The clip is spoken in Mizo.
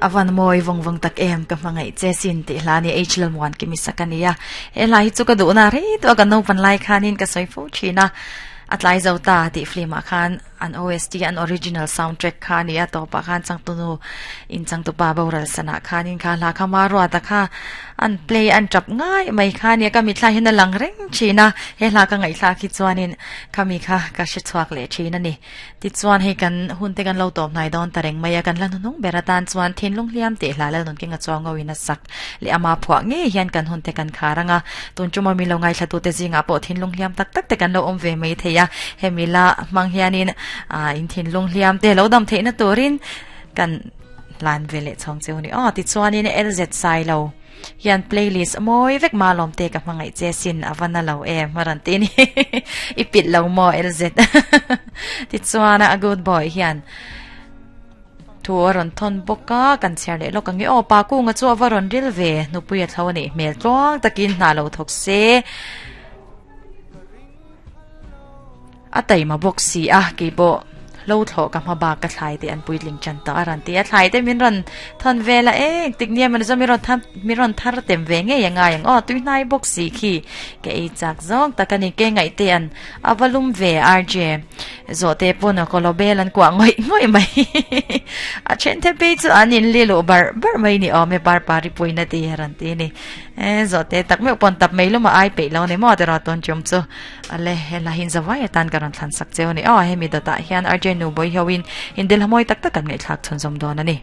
A van mawi vawng vawng tak em ka hmangaih che sin tih hla ni H Lalmuan Kimi sak a nia. He hla hi chu ka duhna rei tawh a kan naupan lai khanin ka sawi fo thin a. A tlai zo ta tih film ah khan an OST an original soundtrack kha a ni a tawpah khan changtunu in changtupa boral sanah khanin kha hla kha Maruata kha an play an tap ngai mai kha a nia ka mitthla hian a lang reng thin a he hla ka ngaihthlak hi chuanin khami kha ka hre chhuak leh thin a ni. Tichuan hei kan hun te kan lo tawp hnai dawn ta reng mai a, kan la hnuhnung ber atan chuan thinlung hliam teh hla lal nun kenga chuang ngawin a sak leh ama phuah ngei hian kan hun te kan khar ang a, tun chuma mi lo ngaithla tute zingah pawh thinlung hliam tak tak te kan lo awm ve mai thei a, hemi la hmang hianin in thinlung hliam te lo dam theihna turin kan hlan ve leh chhawng cheu a ni aw. Tichuanin LZ Sailo. Hian playlist mawi vek ma lawm te ka hmangaih che sin a va na lo em a rawn ti ni i pit lo maw LZ tichuan a good boy hian thu a rawn thawn bawk a kan chhiar leh lawk ang e aw pa kunga chu a va rawn ril ve nupui a thlo a nih hmel tluang takin hna lo thawk se A taima bawk si a, keipawh hlo thlawh ka hma bak ka thlai te an puitling tan tawh a rawn ti a, thlai te min rawn thawn vel a, eng tik nia maw zawm min rawn thar tem ve ngei a ngai ang aw, tui hnai bawk si khi ka ei chak zawng tak a ni, ke ngaih te an a va lum ve RJ zawh te pawn a kawlaw bel an kuah ngawih ngawih mai a then te phei chu an in li luh barh barh mai ni awm e parpari puina te a rawn ti a ni, e zawh te tak meuh pawn tap mai lum a ai peih lo ni maw tiraw tun chum chu. Ale, he la hin zavai atan ka rawn thlan sak cheu a ni. Aw, hemi dawtah hian RJ Nubawi hoin indil hamawi tak tak kan ngaihthlak chhunzawm dawn a ni.